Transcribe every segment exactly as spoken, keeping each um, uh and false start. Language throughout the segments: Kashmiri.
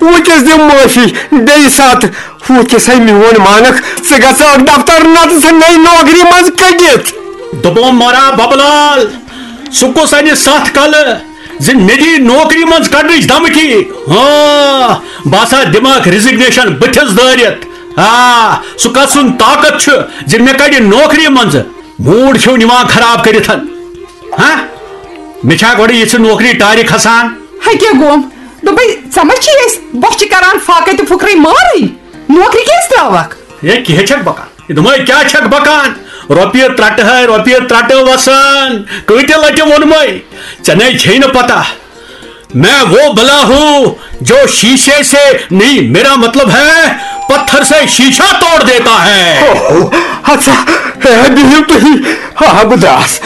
وٕنکیٚس دِ معٲفی، بیٚیہِ ساتہٕ۔ وٕنکیٚس ہے میون مانکھ، ژٕ گژھکھ دفتر، نتہٕ ژھٕنَے نوکری منٛز کٔڑِتھ۔ دوٚپُم مورا ببلال، سُہ کُس انہِ ستھ کلہٕ زِ مےٚ دی نوکری منٛز کڑنٕچ دھمکی؟ ہاں، بہٕ ہسا دِمکھ resignation بٕتھِس دٲرِتھ۔ آ، سُہ کس سُنٛد طاقت چھُ زِ مےٚ کڑِ نوکری منٛز؟ موڈ چھُو نِوان خراب کٔرِتھ۔ ہاں، مےٚ چھا گۄڈٕ یِژھٕ نوکری ٹارِ کھسان؟ ہے کیٛاہ گوٚم؟ دوٚپمَے، ژےٚ ما چھِی أسۍ بۄچھِ کران فاقے تہٕ پھُکرٕے مارٕے؟ نوکری کیٛازِ ترٛاوَکھ؟ ہے، کیٛاہ چھَکھ بکان؟ یہِ دوٚپمَے، کیٛاہ چھَکھ بکان؟ رۄپیہِ ترٛٹہٕ ہے، رۄپیہِ ترٛٹہٕ وَسان۔ کۭتہِ لَٹہِ ووٚنمَے؟ ژےٚ نے چھے نہٕ پتہ۔ میں وہ بلا ہوں جو شیشے سے نہیں، میرا مطلب ہے پتھر سے شیشہ توڑ دیتا ہے۔ اوہ، ہسا، ہے، بِہِو تُہی۔ ہا، بہٕ درٛاس۔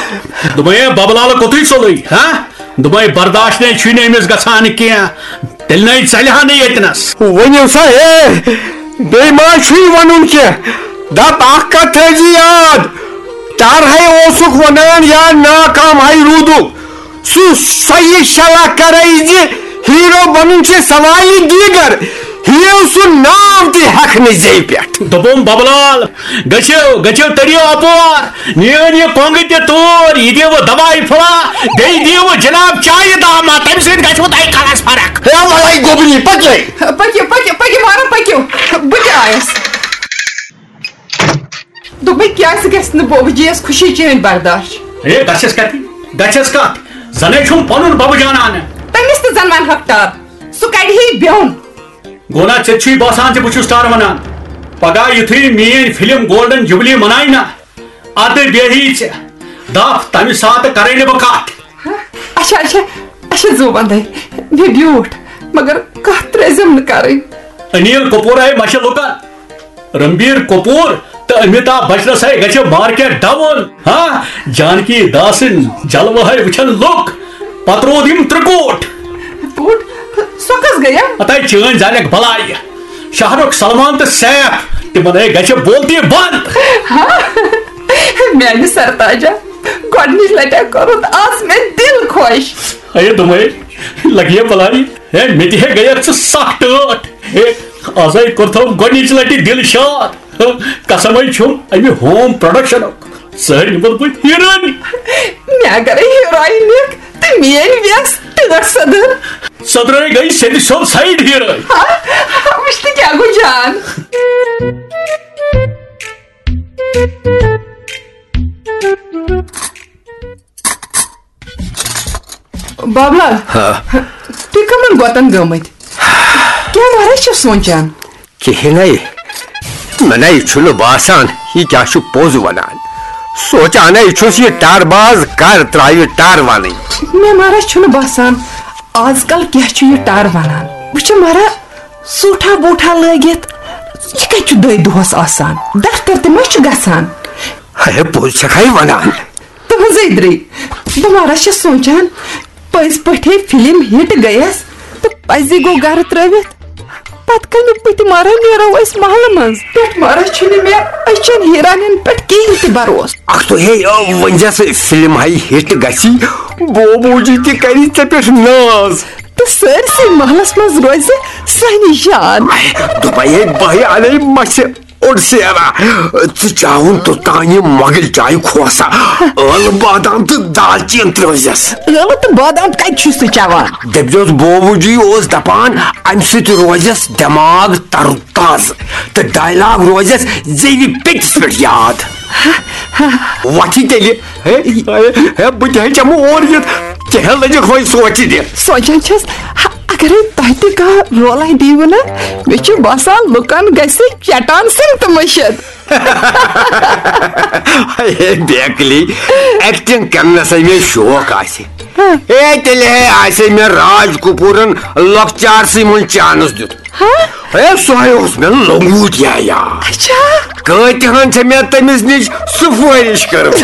دوٚپمَے، ہے، ببہٕ لالہٕ کوٚتُے ژوٚلُے، ہا؟ دوٚپمَے، برداش نے چھُے نہٕ أمِس گژھان کینٛہہ۔ تیٚلہِ نے ژَلہِ ہا نہٕ ییٚتنَس۔ ؤنِو سا، ہے، بیٚیہِ ما چھُے وَنُن کینٛہہ؟ دَپ اَکھ کَتھ تھٲیزِ یاد، ٹَر ہے اوسُکھ وَنان یا ناکام ہے روٗدُکھ۔ سُہ سۄیہِ شلا کرے زِ ہیرو بنُن چھُ سوالہِ دیگر۔ ہیو سُہ ناو تہِ ہٮ۪کھ نہٕ زیٚوِ پٮ۪ٹھ۔ دوٚپُم، ببہٕ لال، گٔژھِو، گٔژھِو، تٔرِو اپور۔ نِیِو یہِ کۄنٛگہٕ تہِ توٗرۍ، یہِ دِیِو دواے پھوٚلہ، بیٚیہِ دِیِو جناب چایہِ دامہ، تَمہِ سۭتۍ گژھِوٕ تۄہہِ کلس فرق۔ ہے، وَلَے گوٚبنی، پٔکِو۔ پٔکِو، پٔکِو، پٔکِو، مارا، پٔکِو۔ بہٕ تہِ آیَس۔ دوٚپمَے، کیٛازِ گژھِ نہٕ بوبہٕ جِیَس خوشی چٲنۍ برداش؟ ہے، گژھٮ۪س کَتہِ؟ گژھٮ۪س کَتھ؟ زَنَے چھُم پَنُن بَبہٕ جان اَنہٕ۔ تٔمِس تہِ زَن وَنہٕ ہَکھ ٹار، سُہ کَڑِ ہے بیوٚن۔ گوٚو نا، ژےٚ چھُے باسان زِ بہٕ چھُس ٹار وَنان؟ پَگاہ یُتھُے میٛٲنۍ فِلم گولڈن جوبلی مَنایہِ نا، اَدٕ بیٚہی ژےٚ دَپھ، تَمہِ ساتہٕ کَرَے نہٕ بہٕ کَتھ۔ اچھا، اچھا، اچھا، زُو وندے، مےٚ بیوٗٹھ، مگر کتھ ترٛٲزِم نہٕ کرٕنۍ۔ انیل کپور آیہِ مشہِ لُکن۔ رنبیر کپور تہٕ امیتابھ بچنس ہے گژھِ مارکیٹ ڈاوُن۔ ہاں، جانکی داسن جلوٕ ہے وٕچھن لُکھ۔ پتہٕ روٗد یِم ترٛکوٹ۔ کوٗٹ؟ سۄ کس گٔیہ؟ ہتاے چٲنۍ زالٮ۪کھ بلاے۔ شاہ رخ، سلمان تہٕ سیف، تِمن ہے گژھِ بولتی بند۔ ہاں، میانہِ سرتاجہ، گۄڈنِچ لٹہِ کوٚرُتھ آز مےٚ دِل خۄش۔ ہے دوٚپمَے، لگیہ بلاے۔ ہے، مےٚ تہِ ہے گٔیَکھ ژٕ سخ ٹٲٹھ۔ ہے، آزے کوٚرتھم گۄڈنِچ لٹہِ دِل شاد۔ قسمے چھُم امہِ ہوم پروڈکشنُک۔ ژٕ ہے نِمَتھ بہٕ ہیٖرٲنی۔ مےٚ اگرے ہیٖرٲنی نِکھ تہٕ میٲنۍ وٮ۪س ٹٲٹھ سدٕر۔ سدرے گٔے سیٚدِ سیوٚد سایڈ ہیٖرٲنۍ۔ ہا، وٕچھ تہٕ کیٛاہ گوٚو جان۔ بابلال، ہا۔ تُہۍ کَمَن گۄتَن گٔمٕتۍ؟ کیٛاہ مہراز چھِ سونٛچان؟ کِہیٖنۍ۔ مےٚ نَے چھُنہٕ باسان، یہِ کیٛاہ چھُ پوٚز وَنان۔ سونٛچانَے چھُس، یہِ ٹَر باز کَر ترٛاوِ ٹَر وَنٕنۍ۔ مےٚ مہراز چھُنہٕ باسان، آز کَل کیٛاہ چھُ یہِ ٹَر وَنان۔ وٕچھ مہراز، سوٗٹھا بوٗٹھا لٲگِتھ، یہِ کَتہِ چھُ دۄیہِ دۄہَس آسان؟ دفتر تہِ ما چھُ گژھان؟ ہے، پوٚز چھَکھَے وَنان۔ تُہنٛزے درے۔ بہٕ ما چھَس سونٛچان، پٔزۍ پٲٹھۍ فلم ہٹ گٔیَس تہٕ پزی گوٚو گرٕ ترٲوِتھ۔ پتہٕ کمہِ پٔتۍ مارا نیرو أسۍ محلہٕ منٛز؟ پٮ۪ٹھ مارا چھُنہٕ مےٚ أچھن ہیرانٮ۪ن پٮ۪ٹھ کِہیٖنۍ تہِ بروسہٕ۔ اکھ تو ہے، آ، ؤنۍ زِ سۄ فلم ہاے ہٹ گژھی، بوبوجی تہِ کری ژےٚ پٮ۪ٹھ ناز۔ تہٕ سٲرسٕے محلس منٛز روزِ سانہِ شان۔ دوٚپے ہے، بہٕ ہے انے مَژھِ۔ اوٚڑ سیرا، ژٕ چاوُن توٚتام یہِ مۄغل چایہِ کھوسا، ٲلہٕ بادام تہٕ دالچیٖن ترٲوزٮ۪س۔ ٲلہٕ تہٕ بادام کتہِ چھُے سُہ چٮ۪وان؟ دٔپۍزٮ۪س بوبوٗ جی اوس دپان، امہِ سۭتۍ روزٮ۪س دٮ۪ماغ تر و تازٕ تہٕ ڈایلاگ روزٮ۪س زیوِ پیٚٹِس پٮ۪ٹھ یاد۔ وۄتھ یہِ تیٚلہِ۔ ہے، ہے، ہے، بہٕ تہِ ہے چمہٕ اور یِتھ۔ ژےٚ ہے لٔجِکھ وۄنۍ سونٛچہِ دِتھ۔ سونٛچان چھَس، ہا، اگرے تۄہہِ تہِ کانٛہہ رولہ دیٖوٕ نا، مےٚ چھُ باسان لُکن گژھِ چٹان سٕنٛدۍ تہٕ مٔشِتھ۔ ہے بیکلی، ایکٹنگ کرنس ہے مےٚ شوق آسہِ۔ ہے تیٚلہِ ہے آسہِ ہے مےٚ راج کپوٗرن لۄکچارسٕے منٛز چانس دیُت۔ ہا؟ ہے، سُہ ہے اوس مےٚ لۄنگوٗٹ یا یا۔ اچھا۔ کۭتِہن چھےٚ مےٚ تٔمِس نِش سُفٲرِش کٔرمٕژ۔